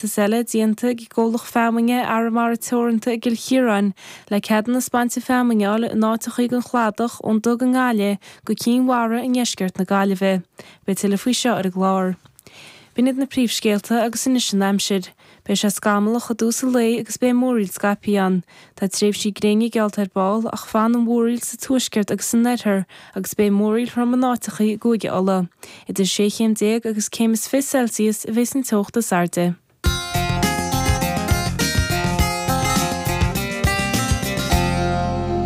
Iarratas eile déanta ag an gcomhlacht feamainne Arramara Teoranta i gCill Chiaráin le ceadúnas bainte feamainne a fháil in áiteachaí den chladach ón Dug i nGaillimh go Cinn Mhara i ndeisceart na Gaillimhe. Beidh tuilleadh faoi seo ar an gclár. B'in iad na príomhscéalta agus anois an aimsir. Beidh sé scamallach i dtús an lae agus beidh múraíl scaipthe ann. Tá tréimhsí gréine geallta ar ball ach fanfaidh an mhúraíl sa tuaisceart agus san oirthear agus beidh múraíl throm in áiteachaí i gCúige Uladh. Idir 16 chéim agus céim is 20 Celsius a bheas an teocht is airde.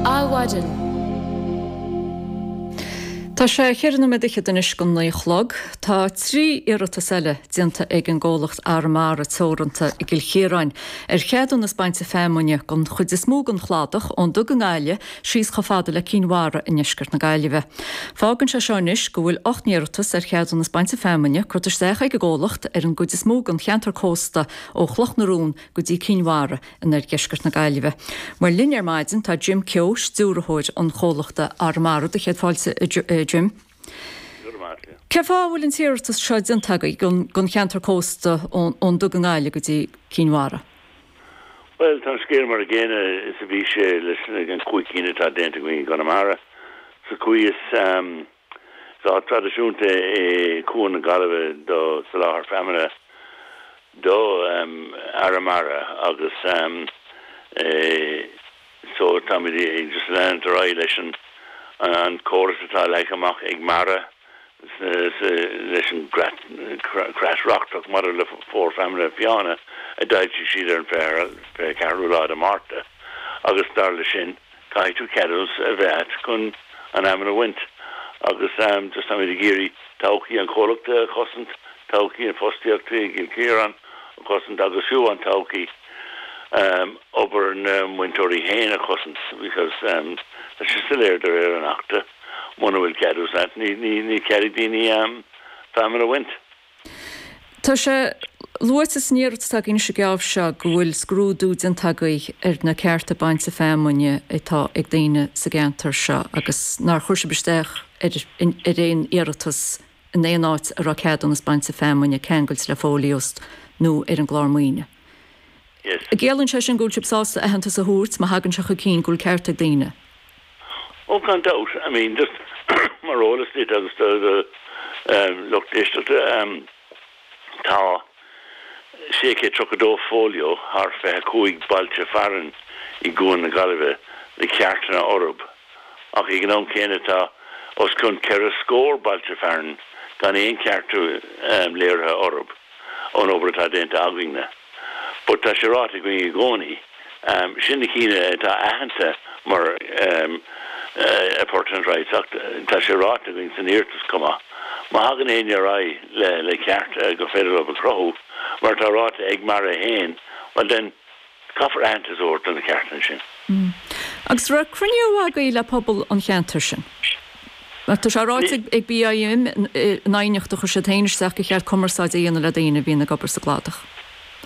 Adhmhaidin. Tá sé cheithre nóiméad fhichead anois go naoi a chlog. Tá 3 iarratas eile déanta ag an gcomhlacht Arramara Teoranta i gCill Chiaráin ar cheadúnas bainte feamainne don chuid is mó den chladach ón Dug i nGaillimh síos chomh fada le Cinn Mhara i ndeisceart na Gaillimhe. Fágann sé seo anois go bhfuil 8 n-iarratas ar cheadúnas bainte feamainne curtha isteach ag an gcomhlacht ar an gcuid is mó den cheantar cósta ó Chloch na Rón go dtí Cinn Mhara in oirdheisceart na Gaillimhe. Mar linn ar maidin tá Jim Keogh, stiúrthóir an chomhlachta Arramara. Do chéad fáilte a Jim. Cén fáth a bhfuil an t-iarratas seo déanta agaibh don cheantar cósta ón Dug i nGaillimh go dtí Cinn Mhara? Bhuel, tá an scéal mar a gcéanna is a bhí sé leis an chúig cinn atá déanta againn i gConamara. Sa chaoi is is áit traidisiúnta é Cuan na Gaillimhe do soláthar feamainne do Arramara agus so táimid ag just leanúint ar aghaidh leis an córas atá leagtha amach ag MARA leis an gcreat reachtach maidir le fómhar feamainne fiáine a d'fhoilsigh siad ar an 24ú lá de Mhárta agus dar leis sin caithfidh tú ceadúnas a bheith agat chun an fheamainn a bhaint agus just táimid ag iarraidh todhchaí an chomhlachta a chosaint, todhchaí an fostaíochta i gCill Chiaráin a chosaint agus fiú an todhchaí obair na mbainteoirí féin a chosaint because tá sé soiléir de réir an Achta. Muna bhfuil ceadúnas agat, ní cead ag daoine feamainn a bhaint. Tá sé luaite san iarratas atá againn anois an geábh seo go bhfuil scrúdú déanta agaibh ar na cearta bainte feamainne atá ag daoine sa gceantar seo agus nár chuir sibh isteach ar aon iarratas in aon áit a raibh ceadúnas bainte feamainne ceangailte le fóiliós nó ar an gclár maoine. Yes. An gciallaíonn sé sin go bhfuil sibh sásta aitheantas a thabhairt, má thagann sé chun cinn, go bhfuil ceart ag daoine? Oh, gan dabht. I mean, just mar eolas duit agus do do lucht éisteachta, tá 632 fóilió thar 25 bailte fearainn i gCuan na Gaillimhe le ceartanna orthu, ach ag an am céanna tá os cionn ceithre scór bailte fearainn gan aon cheart léirithe orthu ón obair atá déanta againne. But tá sé ráite againn i gcónaí, sin na cinn atá aitheanta mar appurtenant rights ach tá sé ráite againn san iarratas chomh maith, má thagann éinne ar aghaidh le ceart gur féidir leo a chruthú, mar atá ráite ag MARA féin, well then caithfear aitheantas a thabhairt do na ceartanna sin. Agus raibh cruinniú agaibh le pobal an cheantair sin? Mar tá sé ráite ag BIM in aighneacht a chuir siad féin isteach gur cheart cumarsáid a dhéanamh le daoine a bhíonn ag obair sa gcladach.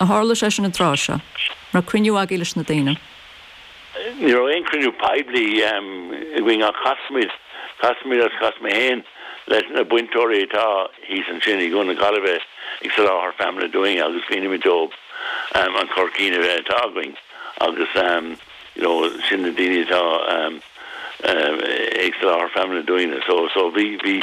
Ar tharla sé sin an tráth seo? An raibh cruinniú agaibh leis na daoine? Ní raibh aon chruinniú poiblí againn ach chas muid, chas muid agus chas mé féin leis na bainteoirí atá thíos ansin i gCuan na Gaillimhe ag soláthar feamainne dúinn agus mhínigh muid dóibh an cur chun cinn atá againn agus you know sin na daoine atá ag soláthar feamainne dúinne so so bhí bhí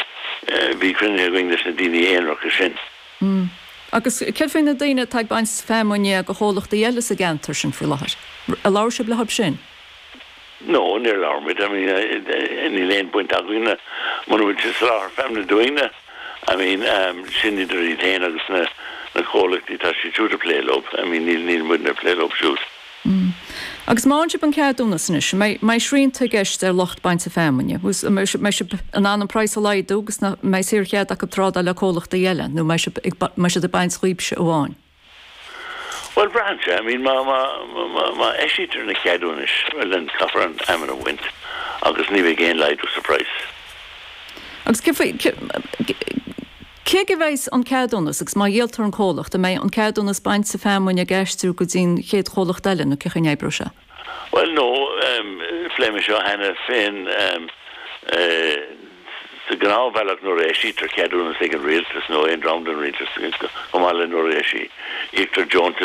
bhí cruinnithe againn leis na daoine aonaracha sin. Mm. Agus céard faoi na daoine atá ag baint feamainne do chomhlachtaí eile sa gceantar sin faoi láthair? Ar labhair sibh leo sin? No, níor labhair muid. I mean níl aon baint againne muna bhfuil siad ag soláthar feamainne dúinne. I mean sin idir iad féin agus na na comhlachtaí atá siad siúd ag plé leo. I mean níl níl muidne ag plé leo siúd. Mm. Agus má fhaigheann sibh an ceadúnas anois, an mbeidh, mbeidh srianta i gceist ar lucht bainte feamainne? An mbeidh sibh in ann an praghas a laghdú agus nach mbeidh saorchead acu trádáil le comhlachtaí eile nó mbeidh sibh ag, mbeidh siad ag baint dhaoibhse amháin? Bhuel, braitheann sé. I mean, má, má, má, má eisítear na ceadúnais, well then caithfear an fheamainn a bhaint agus ní bheidh aon laghdú sa phraghas. Agus cé faoi, cé, cé aige a bheidh an ceadúnas agus má dhíoltar an comhlacht, an mbeidh an ceadúnas bainte feamainne ag aistriú go dtí an chéad chomhlacht eile nó cén chaoi a n-oibreoidh sé? Bhuel, no, phléigh mé seo cheana féin. Sa ghnáthbhealach nuair a eisítear ceadúnas ag an rialtas nó aon dream den rialtas, chomh maith le nuair a eisítear deontas.